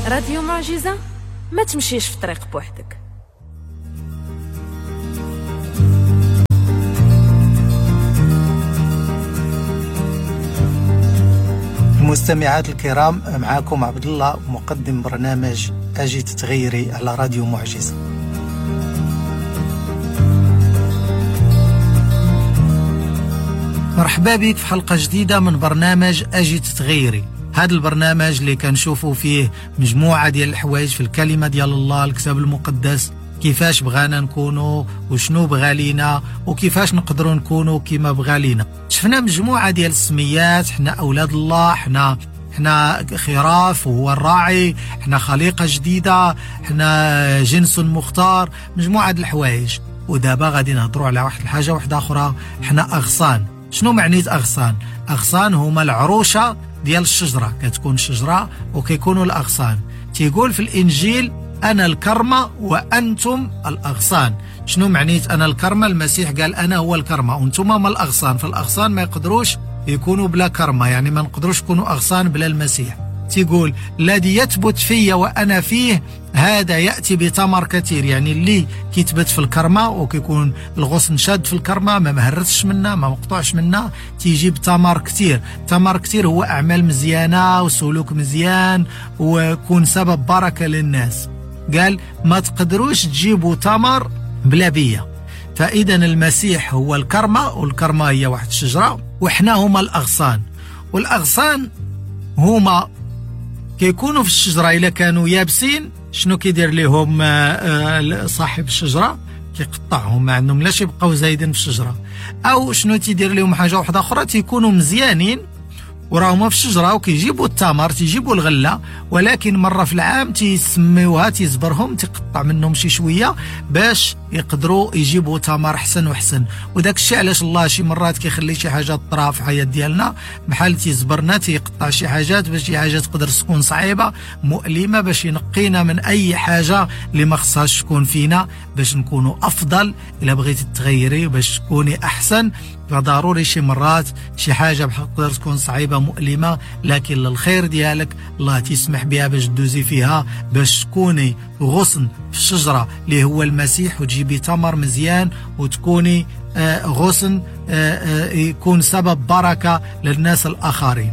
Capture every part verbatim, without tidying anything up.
راديو معجزة، ما تمشيش في طريق بوحدك. المستمعات الكرام، معاكم عبد الله مقدم برنامج أجي تتغيري على راديو معجزة. مرحبا بك في حلقة جديدة من برنامج أجي تتغيري. هذا البرنامج اللي كنشوفوا فيه مجموعة ديال الحوايج في الكلمة ديال الله، الكتاب المقدس، كيفاش بغانا نكونوا وشنو بغا لينا وكيفاش نقدروا نكونوا كما بغا لينا. شفنا مجموعة ديال السميات، حنا أولاد الله، حنا حنا خراف وهو الراعي، حنا خليقة جديدة، حنا جنس مختار، مجموعة ديال الحوايج. ودابا غادي نهضروا على واحد الحاجة واحدة أخرى، حنا أغصان. شنو معنيت أغصان؟ أغصان هما العروشة ديال الشجرة، كتكون شجرة وكيكونوا الأغصان. تيقول في الإنجيل أنا الكرمة وأنتم الأغصان. شنو معنيت أنا الكرمة؟ المسيح قال أنا هو الكرمة وأنتم ما الأغصان، فالأغصان ما يقدروش يكونوا بلا كرمة، يعني ما نقدروش يكونوا أغصان بلا المسيح. تيقول الذي يثبت في وأنا فيه هذا يأتي بثمر كثير، يعني اللي كيثبت في الكرمة وكيكون الغصن شاد في الكرمة، ما مهرسش منا، ما مقطوعش منا، تيجيب ثمر كثير. ثمر كثير هو أعمال مزيانة وسلوك مزيان ويكون سبب بركة للناس. قال ما تقدروش تجيبوا ثمر بلا بيا. فإذا المسيح هو الكرمة، والكرمة هي واحد الشجرة، وإحنا هما الأغصان. والأغصان هما كيكونوا في الشجرة إلا كانوا يابسين شنو كيدير لهم صاحب الشجرة؟ كيقطعهم، ما عندهم لاش يبقاو زايدين في الشجرة. أو شنو تيدير لهم حاجة واحدة أخرى، تيكونوا مزيانين وراهما في الشجرة وكيجيبوا التمر، تيجيبوا الغلة، ولكن مرة في العام تيسميوها، تيزبرهم، تيقطع منهم شي شوية باش يقدروا يجيبوا تمر حسن وحسن. وداك الشيء علاش الله شي مرات كيخلي شي حاجة طرا في الحياة ديالنا، بحال تيزبرنا، تيقطع شي حاجات باش شي حاجة تقدر تكون صعيبة مؤلمة، باش ينقينا من أي حاجة اللي ما خصهاش تكون فينا باش نكونوا أفضل. إلا بغيتي تغيري باش تكوني أحسن، فضروري شي مرات شي حاجة بحال تقدر تكون صعيبة مؤلمة، لكن للخير ديالك الله تسمح بها باش تدوزي فيها، باش تكوني غصن في الشجرة اللي هو المسيح وتجيبي ثمر مزيان، وتكوني غصن يكون سبب بركة للناس الآخرين.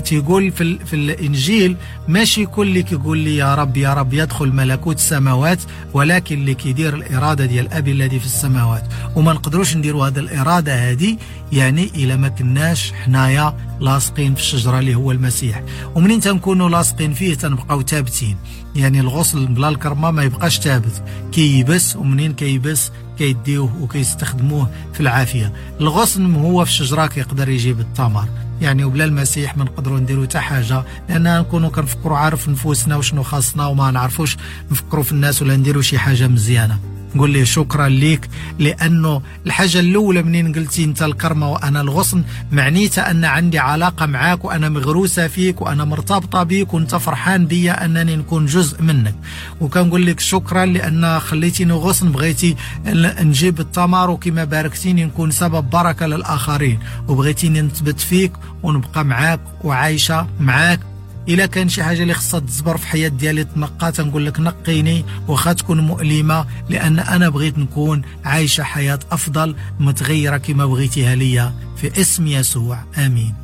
تيقول في, في الإنجيل ماشي كل اللي كيقول لي يا رب يا رب يدخل ملكوت السماوات، ولكن اللي كيدير الإرادة ديال أبي الذي في السماوات. وما نقدروش نديروا هذه الإرادة هذه يعني إلا ما كناش حنايا لاصقين في الشجرة اللي هو المسيح. ومنين تنكونوا لاصقين فيه تنبقاو ثابتين، يعني الغصن بلا الكرمة ما يبقاش ثابت، كيبس، ومنين كيبس كيديوه وكيستخدموه في العافية. الغصن هو في الشجرة كيقدر يجيب الثمر، يعني وبلا المسيح ما نقدروا نديروا حتى حاجة، لأننا نكونوا كنفكروا عارف نفوسنا وشنو خاصنا، وما نعرفوش نفكروا في الناس ولا نديروا شي حاجة مزيانة. نقول ليه شكرا ليك، لأنه الحاجة الأولى منين قلتي أنت الكرمة وأنا الغصن، معنيتها أن عندي علاقة معاك وأنا مغروسة فيك وأنا مرتبطة بيك وأنت فرحان بيا أنني نكون جزء منك. وكنقول لك شكرا لأن خليتيني غصن، بغيتي نجيب الثمر، وكما باركتيني نكون سبب بركة للآخرين، وبغيتيني نثبت فيك ونبقى معاك وعايشة معاك. إلا كان شي حاجة اللي خصها تزبر في حياة ديالي تنقى، تنقول لك نقيني وخا تكون مؤلمة، لأن أنا بغيت نكون عايشة حياة أفضل متغيرة كما بغيتيها ليا، في اسم يسوع، آمين.